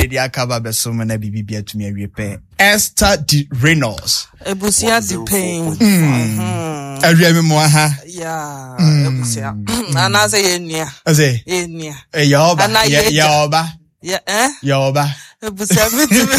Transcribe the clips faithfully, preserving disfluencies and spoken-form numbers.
Ɛde aka ba bɛso mu na biribi bi atumi awie pɛ. Esther D Reynolds. Ebusua di pain. Awia mi mu aha. Yeah, ebusua. Anaasɛ yɛ nua. Ɔsɛ Yɛ nua. yɛ ɔba. Ana yɛ yɛ yɛ ɔba. Yɛ eh? Yɛ ɔba. Ebusua mi ti mi.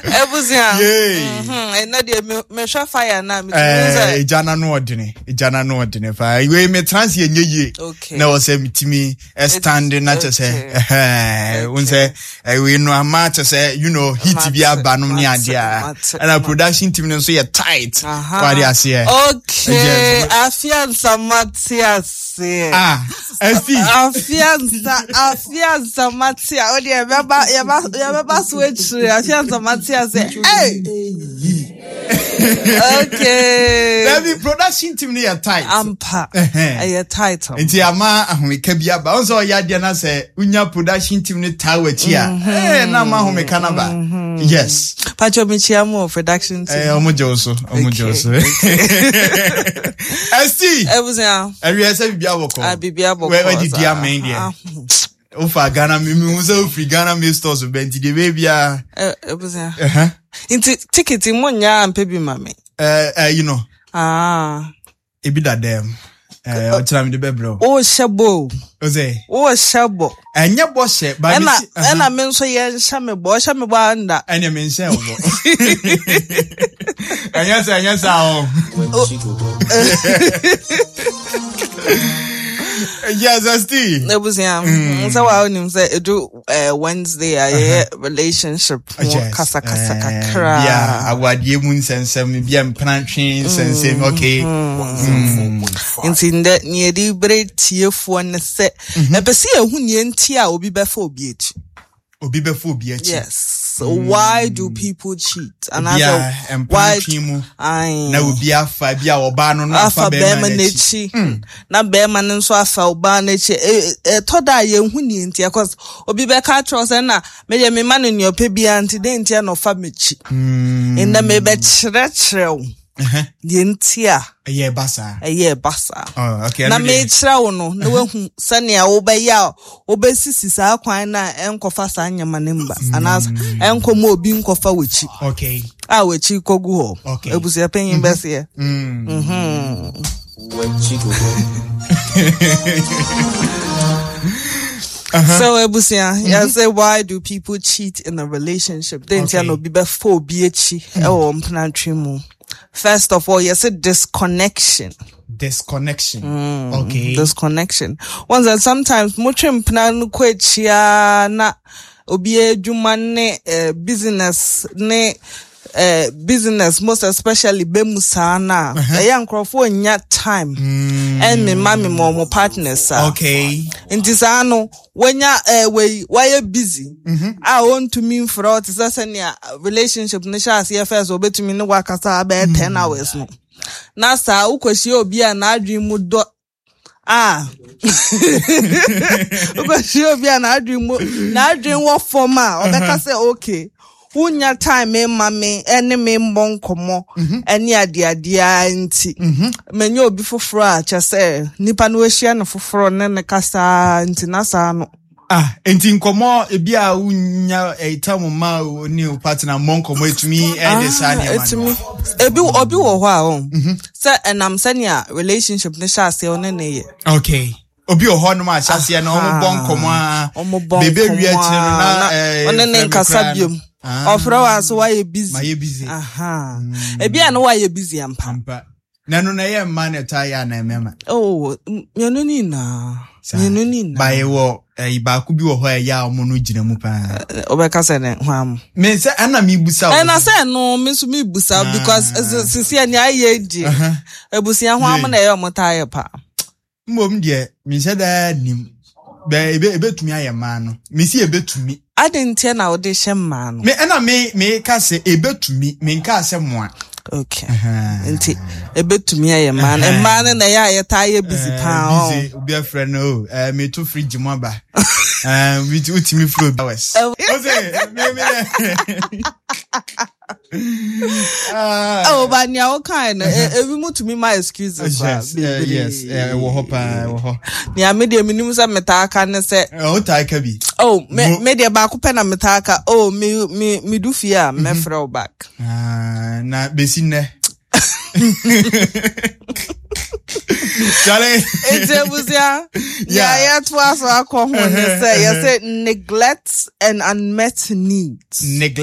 Ebusua. Yay. Mhm. Ɛnɛ deɛ me mehwɛ fire na mi ti mi sɛ. Ɛɛ egya n'ano ɔdene, egya n'ano ɔdene paa. Wei me trans yɛ nye yie. Okay. Na wɔ sɛ metumi stand na kyɛ sɛ Okay. ɛhɛn wo sɛ ɛwei no ama kyɛ sɛ you know heat bi Mate, aba nom ne mate, adeɛ a mate, ɛna mate. production team no nso yɛ tight. Aha. Wade aseɛ. Okay. Yes. Afiansa mate ase. Ah, Esti. Afiansa, afiansa mate a. O deɛ yɛbɛba yɛba yɛbɛba so akyire. Afiansa mate ase. Hey. Okay. Dabi, production team no yɛ tight. Ampa. Ɛhɛn. Ɛyɛ title. Nti ama ahomeka bi aba. Wo sɛ ɔyɛ adeɛ no sɛ wonya production team no taa w'akyi a, ɛɛ na ama ahomeka no aba. Yes. Pacho, mekyia mu wɔ production team. Ɛɛ ɔmo gye wo so. Ɔmo gye wo so. Esti. Ebusua. Ɛwiɛ sɛ biribi abɔkɔ. Ah, biribi abɔkɔ. Wɛ wadidi saa. amɛn deɛ. Ah, Wofa Ghana mi mi hu sɛ wofiri Ghana mi stores bɛ nti deɛ bɛyɛ biara. eh, Ebusua. Ɛhɛn. Nti ticket mo nya ampɛ bi ma me. Ɛɛ ɛyi no Ah. ebi da dɛm. Ɛɛ ɔkyerɛ mi de bɛbrɛ o. O hyɛ bɔ o. O sɛ O hyɛ bɔ. ɛnyɛ bɔ hyɛ ba mi Ɛna si. ɛhɛn. ɛna me nso yɛ nhyɛ me bɔ. Ɔhyɛ me bɔ anda. Ɛnyɛ mi nhyɛ wo bɔ. Ɛnyɛ sɛ ɛnyɛ sɛ o. Yes, Esti. Ebusua. Sɛ wa onim sɛ edu eh, Wednesday a yɛyɛ relationship ho Yes. kasa kasa Eh, kakra. Bia awadeɛ mu nsɛnsɛm, bia mpenatwe nsɛnsɛm, okay. Nti ndɛ nea yɛde bere tiefoɔ ne sɛ ɛpɛ sɛ yɛhu nea nti a obi bɛfa obi akyi. Obi bɛfa obi akyi. Yes. Why do people cheat? And Bia I why mpenatwe mu Aye. na obi afa bi a ɔbaa no na afa afa bɛrima bɛrima n'akyi. n'akyi na bɛrima no nso afa ɔbaa n'akyi. E- e- ɛtɔ da a yɛnhu nea nti, cause obi bɛka akyerɛ wo sɛ na meyɛ mema no nea ɔpɛ biara nti dɛn nti a na ɔfa m'akyi. Ndɛ mebɛkyerɛkyerɛ wo Ɛhɛn. deɛ nti a Ɛyɛ ɛba saa. ɛyɛ ɛba saa. Oh, okay. Na ɛno deɛ- mekyerɛ wo no na woahu sɛnea wobɛyɛ a wobɛsisi saa kwan no a ɛnkɔfa saa nneɛma no mba anaasɛ ɛnkɔma obi nkɔfa w'akyi Okay. a w'akyi kɔgu hɔ. Okay. Abusua panyin bɛseɛ. Mm. So ebusua, yɛsɛ why do people cheat in a relationship? Dɛn nti a Okay. na obi bɛfa obi akyi ɛwɔ mpenatwe mu? First of all, yɛsɛ disconnection. Disconnection. Okay. Disconnection. Once that sometimes motwe mpena no kɔ akyi a na obi adwuma ne eh, business ne eh, business most especially bɛmu saa na ɛyɛ nkurɔfoɔ nya time ɛmmema mema ɔmo partners a. Okay. Nti saa no wanya eh, wei wayɛ busy a ɔntumi mfrɛ wo te sɛ sɛnea relationship no hyɛ aseɛ first obɛtumi ne wakasa abɛyɛ ten hours no, na saa wokɔhyia obi a n'adwene mu dɔ a, wokɔhyia obi a n'adwene mu n'adwene wɔ fam a, ɔbɛka sɛ okay, wonya time ma me ɛne me mmɔ nkɔmmɔ ɛne adeadeɛ nti manya obi foforɔ a kyɛ sɛ nipa no wahyia no foforɔ ne ne kasa nti na saa no. Ah, nti nkɔmmɔ ebi a wonya ɛtam ma wo ne wo partner mmɔ nkɔmmɔ etumi ɛde saa Ah, nneɛma no. etumi ebi obi wɔ hɔ a ɔn sɛ ɛnam sɛnea relationship ne hyɛ aseɛ ɔne ne yɛ. Okay. Obi wɔ hɔ nom a ahyɛseɛ no ɔmo bɔ nkɔmmɔ a ɔmo bɔ bebe wie nkɔmmɔ akyire no a, na na ɛɛ, ɔne ne frɛ me nkasa koraa no. biom. Ah. Ɔfrɛ wo a so wayɛ busy. Mayɛ busy. Aha, ebi a no wayɛ busy ampa. Ampa. Na ɛno na ɛyɛ mmaa na ɛtaa yɛ anaa mmarima? Oh, mmienu ne nyinaa. Saa. Mmienu ne nyinaa. Ba yɛwɔ ɛyi baako bi wɔ hɔ a ɛyɛ a ɔmo no gyina mu paa. Ɔbɛka sɛ ne ho am. Me sɛ ɛna mebusa wo. Ɛna sɛ no me nso mebusa Ah. because sisi a nea ayɛ die abusua ho am na ɛyɛ ɔmo taa yɛ paa. Mmom deɛ menhyɛ daa nim. Bɛ ebe ebetumi ayɛ mmaa no. Mesi ebetumi. Ade ntiɛ na wode hyɛ mmaa no? Me ɛna me me ka sɛ ebetumi, me nka sɛ mmoa. Okay, nti ebetumi ayɛ mmaa no, mmaa no na ɛyɛ a yɛtaa yɛ busy paa ɔ. Busy, obi afrɛ no o, ɛɛ meto fridge mu aba. Ɛɛ wotumi firi obi hours. Ɛ- Ose me me dɛ. Ah. Oh, but nea wokae no, e- ebi mu tumi ma excuses a Yes, eh, yes, eh, ɛwɔ hɔ paa, ɛwɔ hɔ. Nea me deɛ menim sɛ metaa ka ne sɛ, Eh, wotaa ka bi. Oh, me Mo- me deɛ baako pɛ na metaa ka. Oh, me me me du fie a, mɛfrɛ wo back. Ah, na besi nnɛ. Charlie. Nti abusua, Yeah. nea yɛtoa so akɔ ho ne sɛ yɛsɛ neglect and unmet needs. Neglect.